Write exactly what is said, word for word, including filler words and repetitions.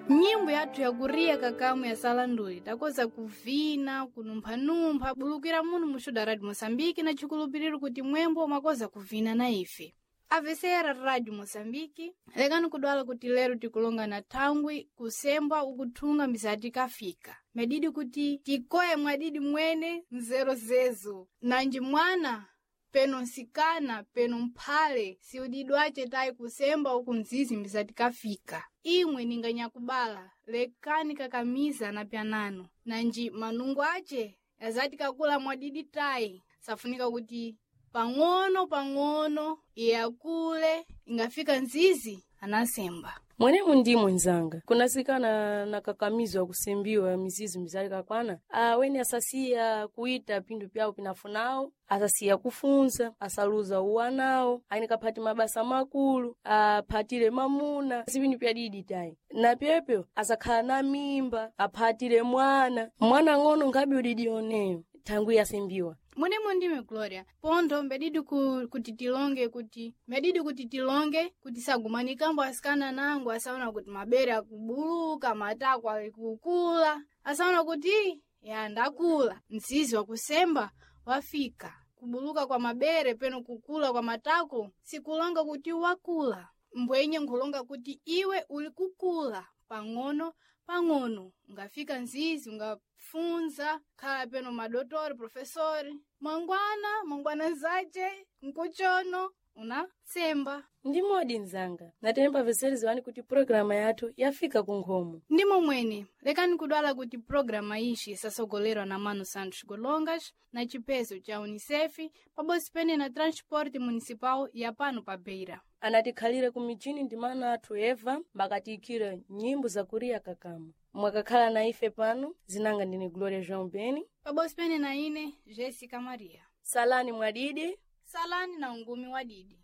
Nyimbo yathu yakuriya kakamu ya salanduli takoza kuvina, kunumphanumpha, bulukira munu muxuda Radio Moçambique na chikulupiriro kuti mwembo mwakoza kuvina na ife. Avesera Radio Moçambique, lekani kudwala kuti lero tikulonga na thangwi kusembwa ukuthunga mbisati kafika. Medidi kuti tikoye mwadidi mwene nzero zezo. Nanji mwana peno nsikana peno mphale siudidwace tayi kusemba uku mzizi mbisati kafika. Imwe ninganyakubala lekani kakamiza na pyanano. Nanji manungo ace azati kakula mwadidi tayi safunika kuti pang'ono pang'ono iye akule ingafika nzizi anasemba. Mwenemu ndi mwenzanga kunasikana nakakamizwa kusembiwa mizizi mizali kakwana aweni asasiya kuita pindu pyawo pinafunawo, asasiya kufunza, asaluza uwanawo, aini kaphati mabasa makulu, aphatire mamuna, si pindu pyadidi tayi na pyepyo asakhala na mimba, aphatire mwana mwana ng'ono nkhabe udidi oneyo thangwi yasembiwa. Mwenemo ndime Gloria, pontho mbedidi ku, kuti tilonge kuti medidi kuti tilonge kuti sagumanikambo asikana nangu asaona kuti mabere akubuluka, matako ali kukula, asaona kuti ya ndakula, mzizi wakusemba wafika. Kubuluka kwa mabere peno kukula kwa matako sikulonga kuti wakula, mbwenye nkhulonga kuti iwe uli kukula pang'ono pang'ono ungafika nzizi ungafunza khala peno madotori profesori mwangwana mwangwana zace nkuchono unatsemba. Ndi modi mzanga natemba veseri ziwani kuti pulogalamu yathu yafika ku nkhomo. Ndimo mwene lekani kudwala kuti programa ixi isasogolerwa na Mano Santos Golongas na chipezo cha Unicef pabodzi pene na Transporte Municipal ya pano pa Beira. Anatikhalire ku mijini ndi mana athu Eva mbakatiyikire nyimbo zakuriya kakamu. Mwakakhala na ife pano zinanga ndine Gloria João Beni pabodzi pene na ine Jessica Maria. Salani mwadidi, salani na ungumi wa didi.